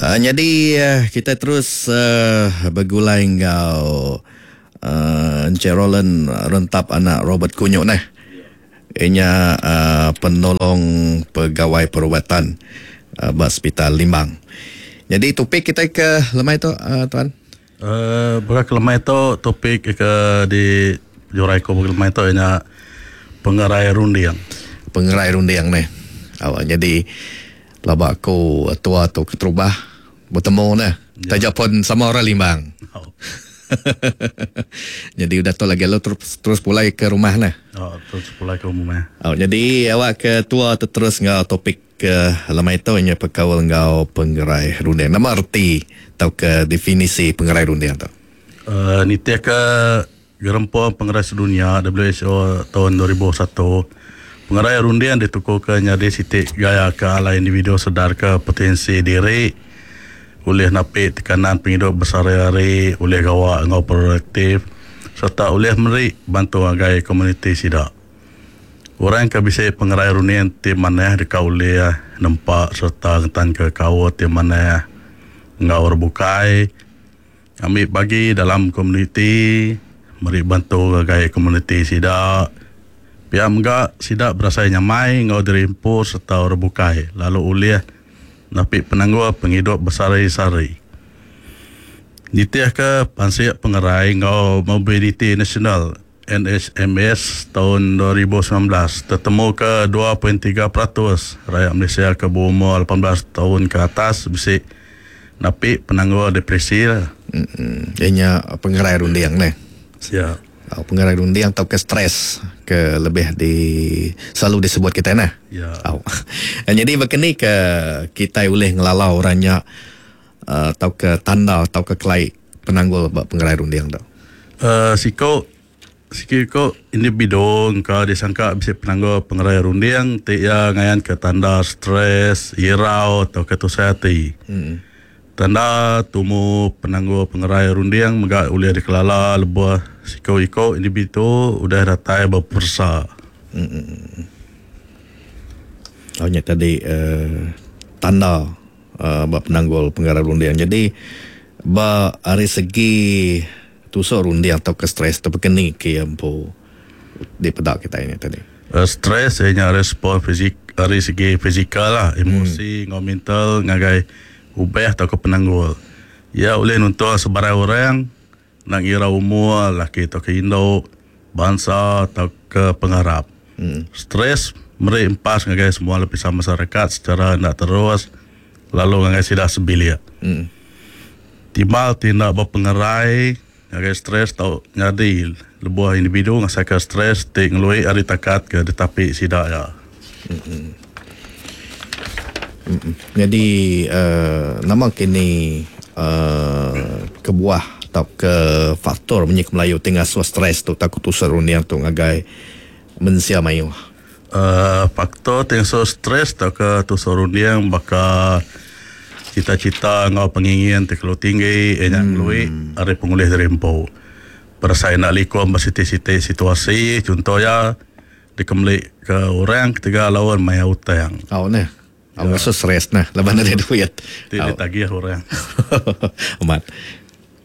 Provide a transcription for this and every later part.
Nyadi kita terus begulai enggau Encik Roland Rentap anak Robert Kunyuk neh. Iya nya penolong pegawai perubatan ba Sepital Limbang. Nyadi topik kitai ke lemai tu tuan. Baka ke lemai tu topik ke di jurai ku baka lemai tu iya nya pengerai runding. Pengerai runding neh. Nyadi Pelaba aku tua tu keterubah betemu neh. Taja pun sama orang Limbang. Jadi udah tu lagi lalu terus, terus pulai ke rumah neh. Oh, terus pulai ke rumah. Oh, jadi awak ke tua tu terus enggau topik ke lemai tu nya bekaul enggau pengerai runding. Nama reti tauka definisi pengerai runding tu? Nitih ke Gerempung Pengerai Sedunya, WHO, taun 2001, pengerai runding ditukuka nyadi siti gaya ke alai individu sedarka potensi diri, ulih napi tekanan pengidup besehari-hari, ulih gawa enggau produktif sereta ulih meri bantu ngagai komuniti sida. Orang ke bisi pengerai runding ti manah deka ulih nempa sereta ngetanka kaul ti manah enggau orang bukai. Ngambi bagi dalam komuniti, meri bantu ngagai komuniti sida. Pia mega sida berasai nyamai enggau diri empu sereta orang bukai lalu ulih napi penanggul pengidup besehari-sehari. Nitihka pansik pengerai enggau Mobiliti Nasional, NHMS, taun 2019 tetemuka 2.3% rayat Malaysia ke beumur 18 taun ke atas bisi napi penanggul depresi. Iya nya pengerai runding neh. Ya. Pengerai runding tauka stres ke lebih di selalu disebut kitai neh. Ya. Nyadi baka ni ke kitai ulih ngelala orang nya tauka tanda tauka kelai penanggul ba pengerai runding tu? Siko siki ko individu engka disangka bisi penanggul pengerai runding ti iya ngayanka tanda stres, irau tauka tusah ati. Tanda tumu penanggul pengerai runding mega ulih dikelala lebuh siko iko individu udah datai beperesa. Tau nya tadi tanda ba penanggul pengarap runding. Jadi ba ari segi tusuk runding tauka stres tu baka ni ke iya empu dipeda kitai nya tadi. Stres iya nya respon fizik ari segi fizikal lah, emosi enggau mental ngagai ubah tauka penanggul. Iya ulih nuntung sebarang orang enda ngira umur, laki tauka indu, bansa tauka pengarap. Stres meri empas ngagai semua lapisan masyarakat secara enda terus lalu ngagai sida sebilik. Timbal ti enda bepengerai ngagai stres tau nyadi lebuh individu ngasaika stres ti ngelui ari takat ke ditapi sida iya. Nyadi uhh nama kini uhh kebuah tauka faktor munyi ke Melayu ti ngasuh stres tu tauka tusah runding tu ngagai mensia mayuh. Uhh faktor ti ngasuh stres tauka tusah runding baka cita-cita enggau pengingin ti kelalu tinggi iya nya ngelui ari pengulih diri empu. Berasai enda likun ba siti-siti situasi chunto iya dikemeli ke orang ketegal laun mayar utang. Au neh. Au ngasuh stress neh laban nadai duit. Ti ditagih orang. Amat.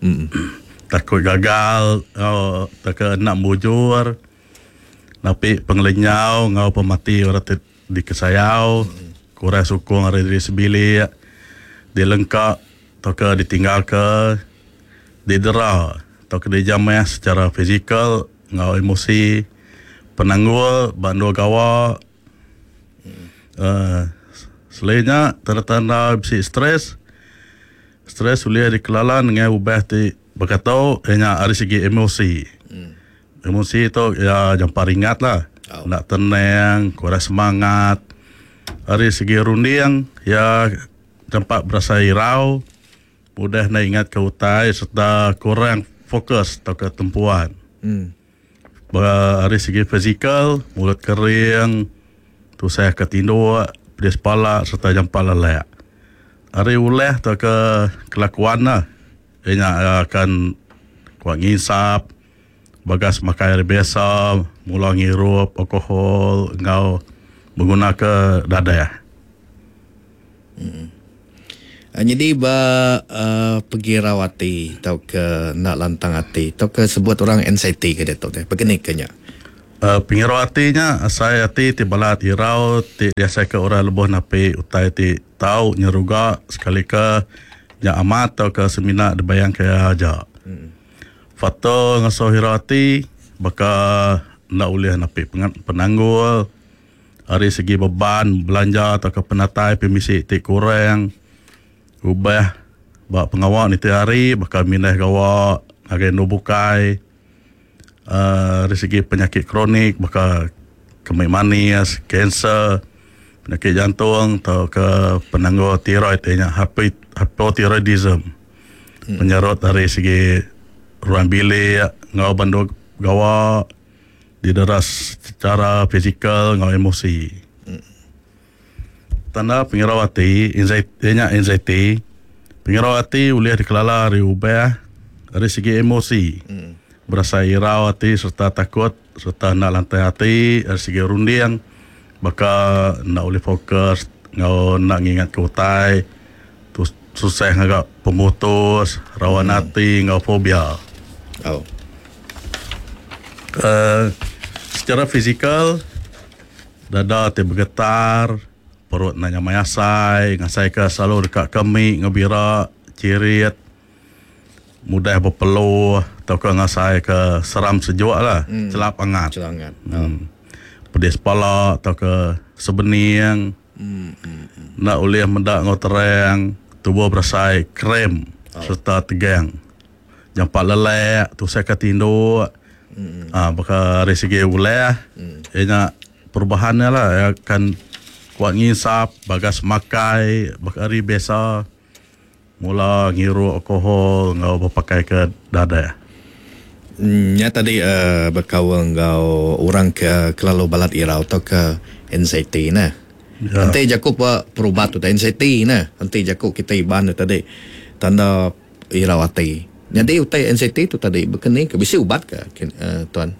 Em. Takut gagal enggau tauka enda mujur napi pengelenyau enggau pemati orang ti dikesayau, kurang sukung ari diri sebilik, dilengka tauka ditinggalka, didera tauka dijamah secara fizikal enggau emosi, penanggul ba endur gawa uhh selain nya tanda-tanda bisi stress, stress ulih dikelala nengah ubah ti baka tu iya nya ari segi emosi. Emosi tu iya jampat ringat lah enda tenang, kurang semangat. Ari segi runding iya jampat berasai irau. Udah enda ingatka utai sereta kurang fokus tauka tempuan. Ba ari segi fizikal, mulut kering, tusah ke tinduk, pedis pala sereta jampat lelak. Ari ulah tauka kelakuan ne, iya nya akan kuak nginsap, bagas makai ari biasa, mula ngirup alkohol enggau begunaka dadah. Nyadi ba uhh pegirau ati tauka enda lantang ati tauka sebut orang anxiety ke diatu deh begeni ke nya. Uhh pengirau ati nya asai ati ti balat irau ti diasaika orang lebuh napi utai ti tau nyeruga sekalika nya amat tauka semina dibayangka iya aja. Faktor ngasuh irau ati baka enda ulih napi penanggul. Ari segi beban belanja tauka penatai pemisi ti kurang, ubah ba pengawa nitih hari baka mindah gawa ngagai endur bukai uhh ari segi penyakit kronik baka kemi manis, kanser, penyakit jantung tauka penanggul tiroid iya nya hypothyroidism. Penyarut ari segi ruang bilik enggau ba endur gawa. Didera secara fizikal enggau emosi. Tanda pengirau ati, iya nya anxiety. Pengirau ati ulih dikelala ari ubah ari segi emosi. Berasai irau ati sereta takut sereta enda lantang ati ari segi runding baka enda ulih fokus enggau enda ngingatka utai, tusah ngaga pemutus, rawan ati enggau fobia. Secara fizikal, dada ti begetar, perut enda nyamai asai, ngasaika selalu deka kemi enggau bira, chirit, mudah bepeluh tauka ngasaika seram sejuk lah, chelap angat. Pedis pala tauka sebening, enda ulih meda enggau terang, tubuh berasai krem sereta tegang. Jampat lelak tusah ka tinduk uhh baka ari segi ulah iya nya perubahan iya lah iya akan kuat nginsap bagas makai baka ari biasa mula ngirup alkohol enggau bepakai ke dadah. Nya tadi uhh bekaul enggau orang ke kelalu balat irau tauka anxiety neh. Enti jaku perubat tu anxiety neh enti jaku kitai Iban tu tadi tanda Irau ati. Nyadi utai anxiety tu tadi baka ni ke bisi ubat ke tuan?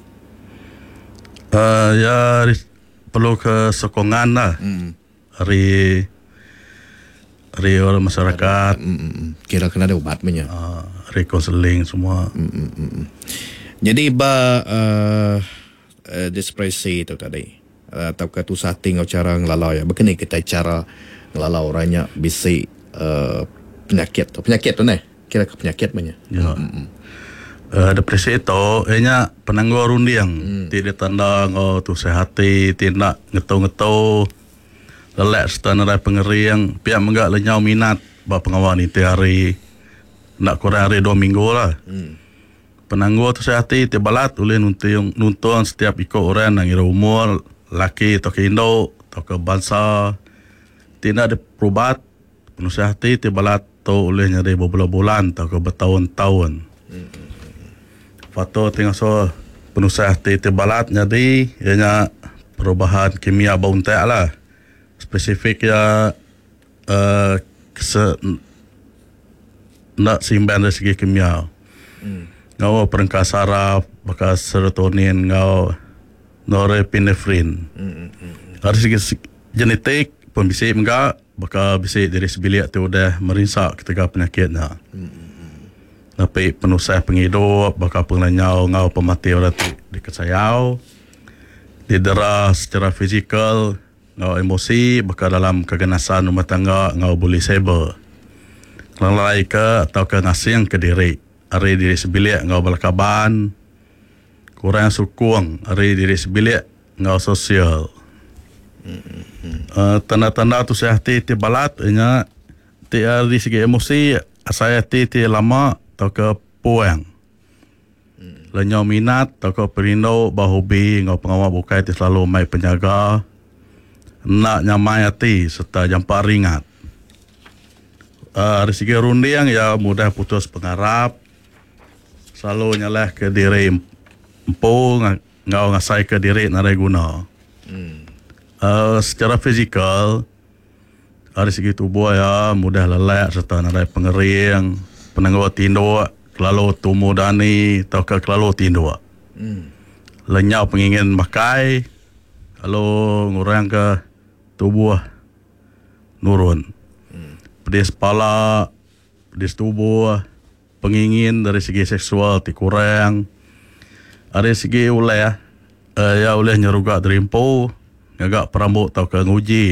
Uhh iya perlu ke sokongan lah ari ari orang masyarakat. Kira ke nadai ubat meh nya. Uhh ari konseling semua. Nyadi ba uhh depresi tu tadi tauka tusah ati enggau chara ngelala iya. Baka ni kitai chara ngelala orang nya bisi uhh penyakit tu. Penyakit tu neh. Kira ke penyakit meh nya. Ya. Uhh depresi tu iya nya penanggul runding ti ditanda enggau tusah ati ti enda ngetu-ngetu, lelak sereta nadai pengering, pia mega lenyau minat ba pengawa nitih hari enda kurang ari dua minggu lah. Penanggul tusah ati ti balat ulih nuntung nuntung setiap iku orang enda ngira umur, laki tauka indu, tauka bansa. Ti enda diperubat, penusah ati ti balat tu ulih nyadi bebulan-bulan tauka betaun-taun. Faktor ti ngasuh penusah ati ti balat nyadi iya nya perubahan kimia ba untak lah. Spesifik iya uhh kese enda seimbang ari segi kimia. Enggau perengka saraf baka serotonin enggau norepinephrine. Ari segi genetik pun bisi mega baka bisi diri sebilik ti udah merinsa ketegal penyakit nya. Napi penusah pengidup baka pengelenyau enggau pemati orang ti dikesayau, didera secara fizikal. Enggau emosi baka dalam keganasan rumah tangga enggau buli cyber. Ngelalaika tauka ngasingka diri ari diri sebilik enggau bala kaban. Kurang sukung ari diri sebilik enggau sosial. Uhh tanda-tanda tusah ati ti balat inya ti ari segi emosi asai ati ti lama tauka puang. Lenyau minat tauka perindu ba hobi enggau pengawa bukai ti selalu mai penyaga enda nyamai ati sereta jampat ringat. Ari segi runding iya mudah putus pengarap, selalu nyalahka diri empu enggau ngasaika diri nadai guna. Secara fizikal, Ari segi tubuh iya mudah lelak sereta nadai pengering, penanggul tinduk, kelalu tumu dani tauka kelalu tinduk. Lenyau pengingin makai lalu ngurangka tubuh nurun. Pedis pala, pedis tubuh, pengingin dari segi seksual ti kurang. Ari segi ulah, iya ulih nyeruga diri empu ngaga perambu tauka nguji.